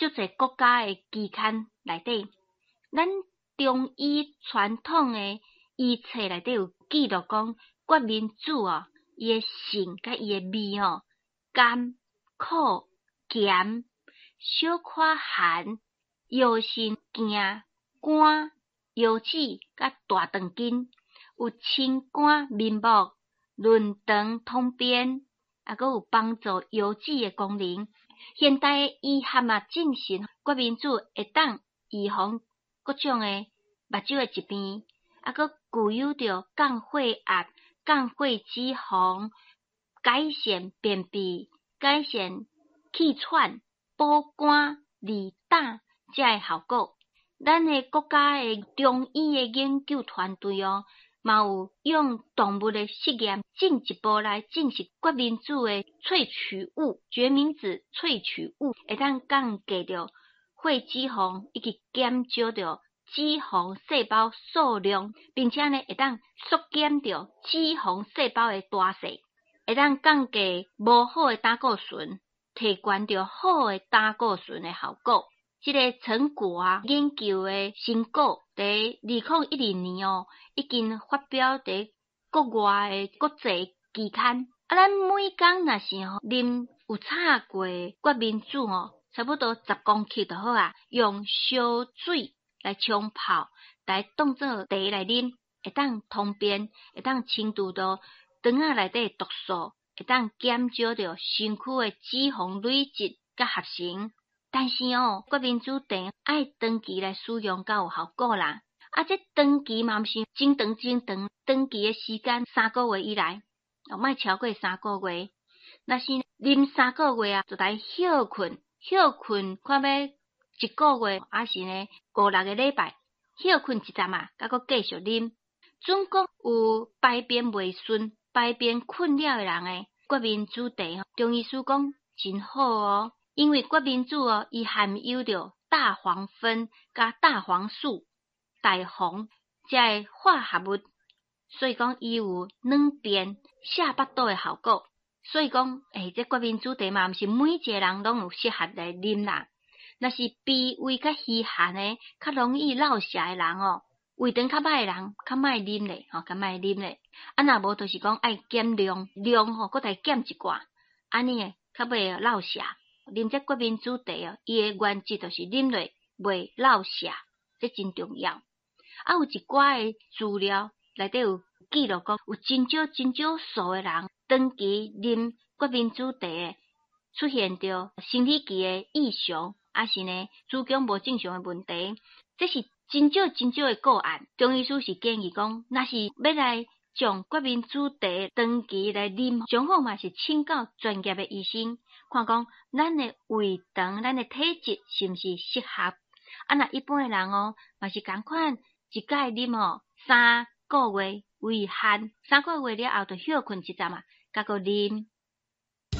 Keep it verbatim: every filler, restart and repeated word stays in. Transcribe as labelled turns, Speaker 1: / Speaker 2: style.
Speaker 1: 足濟國家的期刊內底。咱中醫傳統的醫冊內底有記錄講，決明子哦，伊的性佮伊的味哦，甘、苦、鹹，小可寒，藥性健肝、腰子佮大腸經，有清肝明目、潤腸通便，抑閣有幫助腰子的功能。現代的醫學嘛證實，決明子會當預防各種的目睭的疾病，抑閣具有著降血壓、降血脂肪、改善便秘、改善氣喘、補肝、利膽遮的效果。咱的國家的中醫的研究團隊哦，嘛有用動物的實驗進一步來證實決明子的萃取物，決明子萃取物會當降低著血脂肪以及減少著脂肪細胞數量，並且呢會當縮減著脂肪細胞的大細，會當降低無好的膽固醇，提懸著好的膽固醇的效果。這个成果啊，研究的成果，佇二零一二年哦，已經發表佇國外的國際期刊。啊，咱每工若是吼啉有炒過決明子吼，差不多十公克就好啊，用燒水來沖泡，來當做茶來啉，會當通便，會當清除著腸仔內底毒素，會當減少著身軀的脂肪累積佮合成。但是哦，決明子茶愛長期來使用才有效果啦。啊，這長期嘛毋是真長真長，長期的時間三個月以內，哦，莫超過三個月。若是啉三個月啊，就來歇睏，歇睏看欲一個月，抑是呢五六个禮拜，歇睏一陣啊，閣閣繼續啉。準講有排便袂順、排便困擾的人的決明子茶，中醫師講真好哦。因為決明子哦，伊含有著大黃酚佮大黃素、大黃遮个化合物，所以講伊有軟便、瀉腹肚的效果。所以講，欸，這決明子茶嘛，毋是每一个人攏有適合來啉啦。若是脾胃較虛寒的，較容易落瀉的人哦，胃腸較歹的人，較莫啉咧，吼，較莫啉咧。啊，若無就是講愛減量，量吼，閣來減一寡，按呢會較袂落瀉。啉這決明子茶哦，伊的原則就是啉落袂落瀉，這真重要。啊，有一寡的資料內底有記錄講，有真少真少數的人長期啉決明子茶的，出現著生理期的異常，抑是呢子宮無正常的問題，這是真少真少的個案。中醫師是建議講，若是欲來將決明子茶長期來啉，上好嘛是請教專業的醫生，看講咱的胃腸、咱的體質是毋是適合。啊，若一般的人哦，嘛是仝款，一擺啉吼三個月為限，三個月了後就歇睏一陣啊，閣閣啉。